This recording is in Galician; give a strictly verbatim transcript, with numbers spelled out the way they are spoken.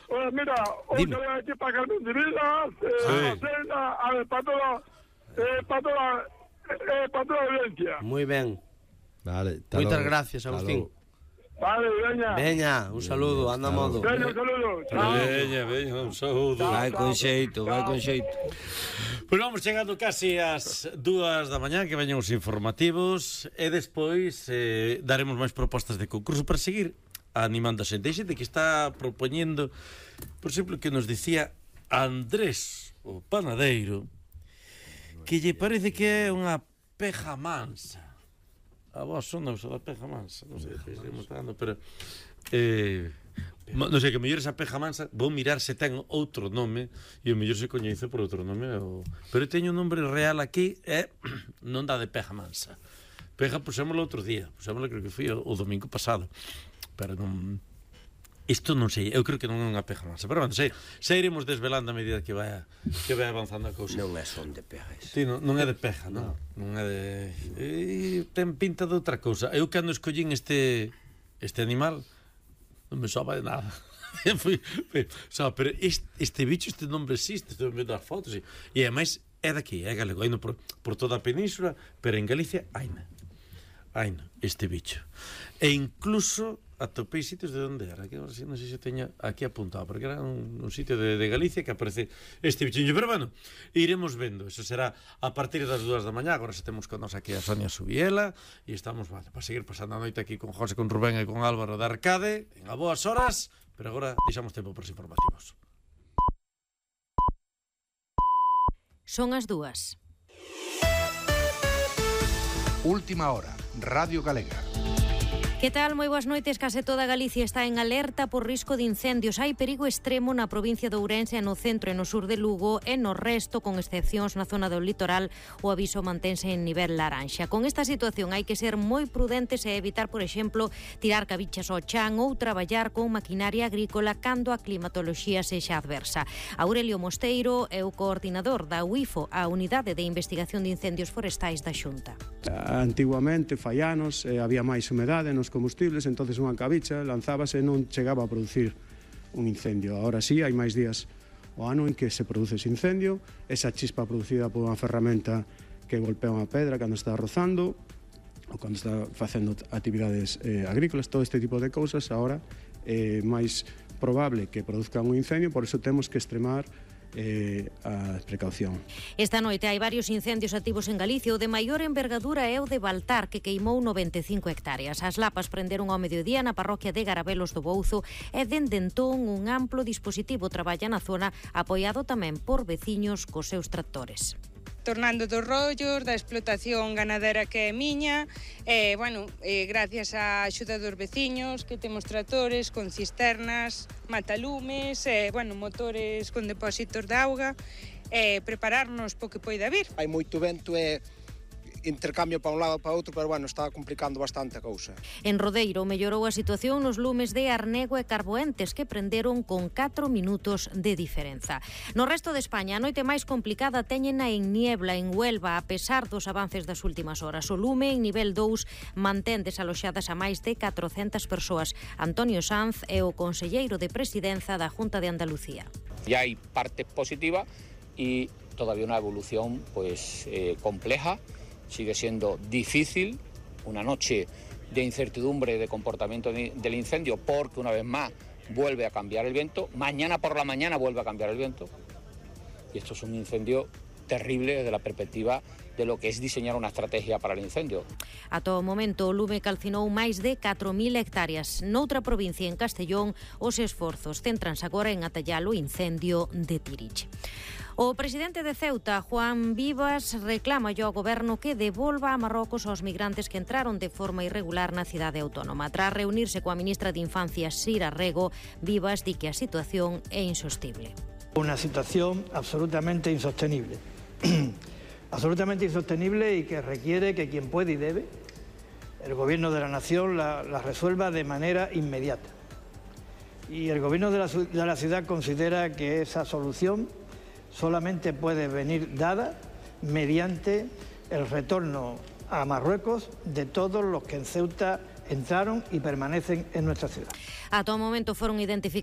Oye, mira, hoy te voy aquí para Carmen de Vilas, eh, Cena, a ver, para toda, eh, para toda, eh, para toda la audiencia. Muy ben. Vale, Moitas gracias, Agustín. Vale, veña. Veña, un saludo, anda a modo. Veña, un saludo. Chao. Veña, veña, un saúdo. Vai con xeito, vai con xeito. Pois vamos chegando casi ás dúas da mañá, que veñen os informativos, e despois eh, daremos máis propostas de concurso para seguir animando a xente. Hai xente que está propoñendo, por exemplo, que nos dicía Andrés, o panadeiro, que lle parece que é unha peja mansa. A vos son da peja mansa, non sei se me está dando, pero eh, non sei, que mellor esa peja mansa vou mirar se ten outro nome, e o mellor se coñece por outro nome o... pero teño un nombre real aquí e non dá de peja mansa. Peja pusémoslo outro día, pusémoslo, creo que foi o, o domingo pasado, pero non... Isto non sei, eu creo que non é unha peja mansa, pero bueno, sei, sei iremos desvelando a medida que vai que vai avanzando a cousa. Non é son de pejas. Sí, non, non é de peja, non? Non é de... E ten pinta de outra cousa. Eu cando escollín este este animal non me soaba de nada. Fui, fui, sabe, pero este, este bicho, este nombre existe, estou vendo as fotos e, e ademais é daqui, é galego, haino por, por toda a península, pero en Galicia haina. Haina, este bicho. E incluso atopei sitios de onde era, que non sei se teña aquí apuntado, porque era un, un sitio de, de Galicia que aparece este bichiño, pero bueno, iremos vendo, eso será a partir das dúas da mañá. Agora se temos con nos aquí a Sonia Subiela e estamos, vale, para seguir pasando a noite aquí con José, con Rubén e con Álvaro de Arcade en a boas horas, pero agora deixamos tempo para os informativos. Son as dúas. Última hora, Radio Galega. Que tal? Moi boas noites. Case toda Galicia está en alerta por risco de incendios. Hai perigo extremo na provincia de Ourense, no centro e no sur de Lugo, e no resto, con excepcións na zona do litoral, o aviso mantense en nivel laranxa. Con esta situación hai que ser moi prudentes e evitar, por exemplo, tirar cabichas ao chan ou traballar con maquinaria agrícola cando a climatoloxía sexa adversa. Aurelio Mosteiro é o coordinador da U I F O, a Unidade de Investigación de Incendios Forestais da Xunta. Antiguamente, fai anos, eh, había máis humedade nos combustibles, entonces unha cabicha lanzábase e non chegaba a producir un incendio. Ahora sí, hai máis días o ano en que se produce ese incendio, esa chispa producida por unha ferramenta que golpea unha pedra cando está rozando ou cando está facendo actividades eh, agrícolas, todo este tipo de cousas ahora é eh, máis probable que produzcan un incendio, por iso temos que extremar Eh, a precaución. Esta noite hai varios incendios activos en Galicia. O de maior envergadura é o de Baltar, que queimou noventa e cinco hectáreas. As lapas prenderon ao mediodía na parroquia de Garabelos do Bouzo e dende entón un amplo dispositivo traballa na zona, apoiado tamén por veciños cos seus tractores. Tornando dos rollos, da explotación ganadera que é miña, e, bueno, e gracias á axuda dos veciños, que temos tractores con cisternas, matalumes, e, bueno, motores con depósitos de auga, e prepararnos po que poida vir. Hai moito vento e intercambio para un lado para outro, pero bueno, está complicando bastante a cousa. En Rodeiro mellorou a situación nos lumes de Arnego e Carboentes, que prenderon con catro minutos de diferenza. No resto de España, a noite máis complicada teñena en Niebla, en Huelva, a pesar dos avances das últimas horas. O lume en nivel dous mantén desaloxadas a máis de catrocentas persoas. Antonio Sanz é o conselleiro de Presidenza da Junta de Andalucía. Ya hay parte positiva y todavía una evolución pues eh, compleja. Sigue siendo difícil, una noche de incertidumbre de comportamiento del incendio, porque una vez más vuelve a cambiar el viento, mañana por la mañana vuelve a cambiar el viento, y esto es un incendio terrible desde la perspectiva de lo que es diseñar unha estrategia para el incendio. A todo momento, o lume calcinou máis de catro mil hectáreas. Noutra provincia, en Castellón, os esforzos céntranse agora en atallar o incendio de Tirich. O presidente de Ceuta, Juan Vivas, reclama ao goberno que devolva a Marrocos aos migrantes que entraron de forma irregular na cidade autónoma. Tras reunirse coa ministra de Infancia, Sira Rego, Vivas di que a situación é insostible. Una situación absolutamente insostenible. absolutamente insostenible y que requiere que quien puede y debe, el gobierno de la nación, la, la resuelva de manera inmediata. Y el gobierno de la, de la ciudad considera que esa solución solamente puede venir dada mediante el retorno a Marruecos de todos los que en Ceuta entraron y permanecen en nuestra ciudad. A todo momento foron identificados